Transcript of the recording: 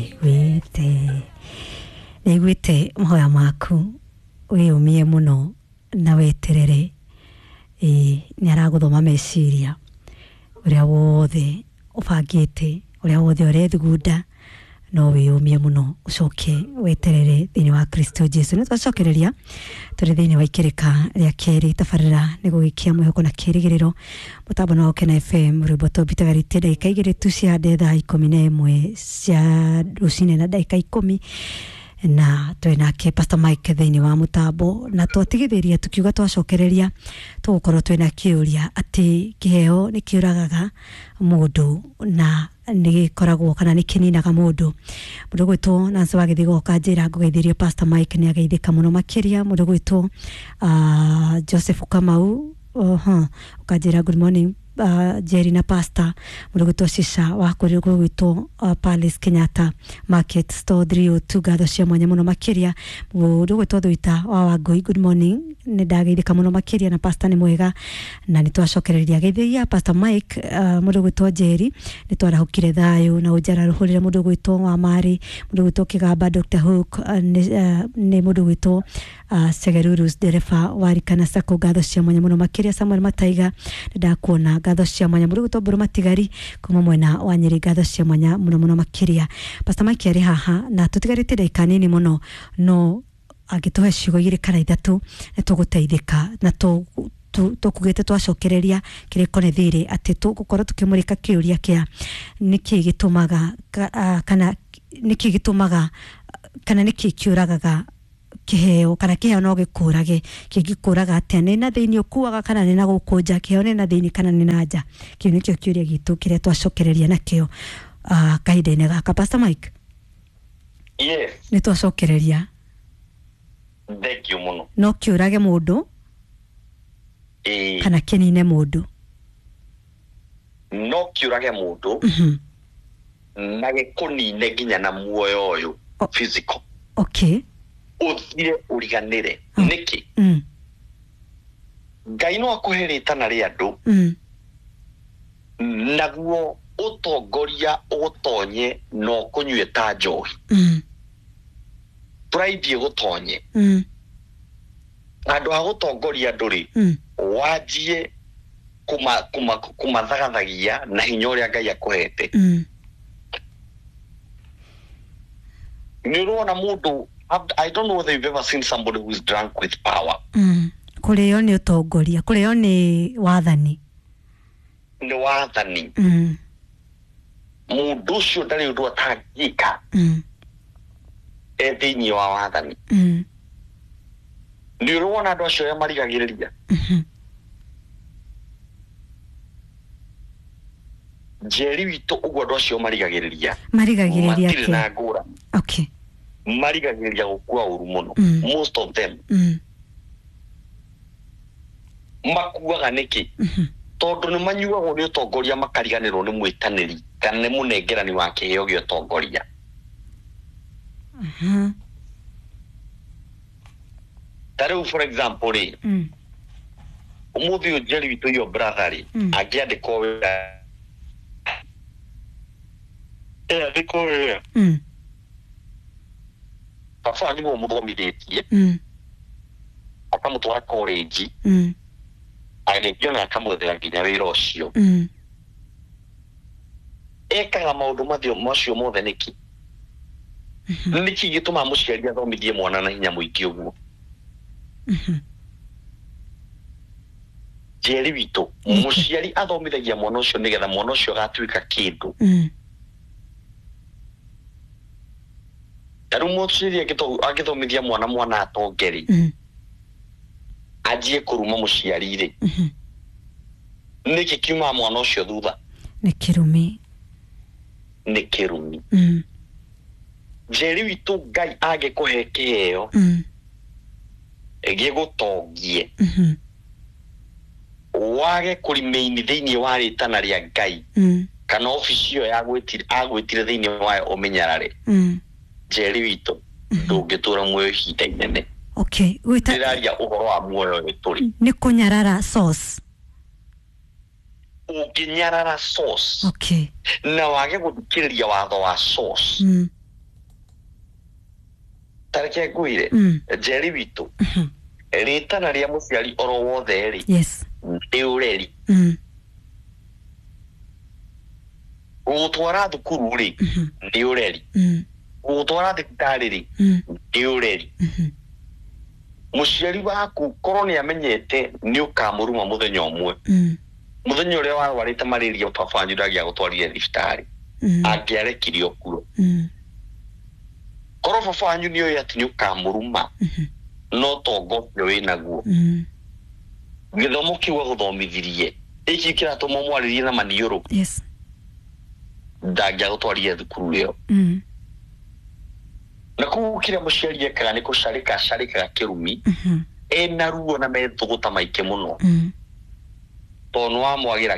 Nĩiguĩte nĩiguĩte mahoya maku, wĩyũmie mũno na weterere. Ĩĩ, nĩ aragũthoma meciria ũrĩa wothe ũbangĩte, ũrĩa wothe ũrethugunda, no wĩyũmie mũno ũcoke weterere thĩinĩ wa Kristo Jesu. Nĩ twacokereria tũrĩ thĩinĩ wa ikĩrĩka rĩa kerĩ tabarĩra nĩ gũgĩkia mwĩhoko na kĩrĩgĩrĩro, mũtambo nĩ wa Gũkena FM, rwĩmbo tũmbitagarĩtie ndagĩka 2 tu cia thaa 11 cia rũcinĩ na ndagĩka 10, na twĩ nake Pastor Mike thĩinĩ wa mũtambo, na twatigithĩria tukiuga twacokereria tũgũkorwo twĩna kĩũria atĩ kĩheo nĩ kĩũragaga mũndũ na nĩ gĩkoragwo kana nĩ kĩninaga mũndũ. Mũndũ gwĩtwo Nancy wa Gĩthigo kanjĩra ngũgeithĩrie Pastor Mike, nĩ ageithĩka mũno makĩria. Mũndũ gwĩtwo Joseph Kamau ũkanjĩra good morning Jerry na Pastor. Mũndũ gwĩtwo Shisha wa kũrĩ gwĩtwo Palace Kenyatta Market Store 302, ngatho cia mwanya mũno makĩria. Mũndũ gwĩtwo Thuita wa Wangui, good morning, nĩ ndageithĩka mũno makĩria na Pastor nĩ mwega na nĩ twacokereria geithĩria Pastor Mike. Mũndũ gwĩtwo Jerry, nĩ twarahũkire thayũ na ũnjarahũrĩre. Mũndũ gwĩtwo wa Mari, mũndũ gwĩtwo Kĩgamba, Dr Hook, nĩ mũndũ gwĩtwo Segerurus ndereba wa Rikana Sacco, ngatho cia mwanya mũno makĩria. Samuel Mataiga, nĩ ndakuona, ngatho cia mwanya. Mũndũ gwĩtwo Mbũrũ Matigari kuma mwena wa Nyĩrĩ, ngatho cia mwanya mũno mũno makĩria. Pastor Mike arĩ haha na tũtigarĩtie ndagĩka nini mũno, no angĩtũhe ciugo 2 kana 3 nĩ tũgũteithĩka, na tũkugĩte twacokereria kĩrĩko nĩ thirĩ atĩ tũgũkorwo tũkĩmũrĩka kĩũria kĩa nĩkĩ gĩtũmaga kana nĩkĩ gĩtũmaga kana nĩkĩ kĩũragaga kĩheo, kana kĩheo no gĩkũrage, kĩngĩkũraga atĩa, nĩ na thĩinĩ ũkuaga kana nĩ na gũkũ nja, kĩheo nĩ na thĩinĩ kana nĩ na nja. Kĩu nĩkĩo kĩũria gitũ kĩrĩa twacokereria nakĩo kahinda-inĩ gaka. Pastor Mike. Yes. Nĩ twacokereria. Thank you mũno. No kĩũrage mũndũ kana kĩnine mũndũ. No kĩũrage mũndũ na gĩkũnine nginya na muoyo ũyũ physical. Okay. Ũthire ũriganĩre. Nĩkĩ? Ngai no akũhe rĩtana rĩa andũ naguo ũtongoria ũgũtonye na ũkũnyue ta njohi. Pride ĩgũtonye. Handũ ha gũtongoria andũ rĩ, wanjie kũmathagathagia na hinya ũrĩa Ngai akũhete. Nĩ ũrona mũndũ, I don't know whether you've ever seen somebody who is drunk with power. Kũrĩo nĩ ũtongoria, kũrĩo nĩ wathani. Nĩ wathani. Mũndũ ũcio ndarĩ ũndũ atangĩka e thĩinĩ wa wathani. Nĩ ũrona andũ acio arĩa marigagĩrĩria. Njeri witũ ũguo andũ acio marigagĩrĩria. Marigagĩrĩria matirĩ na ngũrani. Okay. Marigagĩrĩria gũkua ũru mũno. Most of them. Makuaga nĩkĩ? Tondũ nĩ manyuagwo nĩ ũtongoria makariganĩrwo nĩ mwĩtanĩri kana nĩ mũnengerani wa kĩheo gĩa ũtongoria. Ta rĩu for example rĩ, ũmũthĩ ũyũ Njeri witũ your brother rĩ, angĩandĩkwo wĩra andĩkwo wĩra, baba nĩwe ũmũthomithĩtie, akamũtwara college, agĩthiĩ ona akamwethera nginya wĩra ũcio. Ekaga maũndũ macio mothe nĩkĩ? Nĩkĩ gĩtũmaga mũciari athomithie mwana na hinya mũingĩ ũguo? Njeri witũ, mũciari athomithagia mwana ũcio nĩgetha mwana ũcio agatuĩka kĩndũ. Ta rĩu mũciari angĩthomithia mwana atonge rĩ, anjie kũruma mũciari rĩ, nĩkĩ kiumaga mwana ũcio thutha? Nĩ kĩrumi. Nĩ kĩrumi. Njeri witũ, Ngai angĩkũhe kĩheo gĩgũtongie, wage kũrimeini thĩinĩ wa rĩtana rĩa Ngai kana obici ĩyo agwĩtire thĩinĩ wayo ũmenyarare. Njeri witũ, ndũngĩtũra muoyo ihinda inene. Okay. Ndĩraria ũhoro wa muoyo ũyũ tũrĩ. Nĩ kũnyarara source. Ũngĩnyarara source. Okay. Na wage gũthikĩrĩria watho wa source. Tareke ngwĩre, Njeri witũ, rĩtana rĩa mũciari oro wothe rĩ, Yes. nĩ ũreri. Gũgũtwara thukuru rĩ, nĩ ũreri. Gũgũtwara thibitarĩ rĩ, nĩ ũreri. Mũciari waku korwo nĩ amenyete nĩ ũkamũruma mũthenya ũmwe, mũthenya ũrĩa warwarĩte malaria baba wanyu ndangĩagũtwarire thibitarĩ, angĩarekire ũkue. Korwo baba wanyu nĩ oĩ atĩ nĩ ũkamũruma, no tonga ũcio wĩnaguo, gĩthomo kĩu agũthomithirie ĩkĩ kĩratũma ũmwarĩrie na maniũrũ, Yes. ndangĩagũtwarire thukuru ĩyo. Na koguo kĩrĩa mũciari ekaga nĩ kũcarĩka acarĩkaga kĩrumi ena ruo na methũgũta maingĩ mũno, tondũ nĩ wamwagĩra.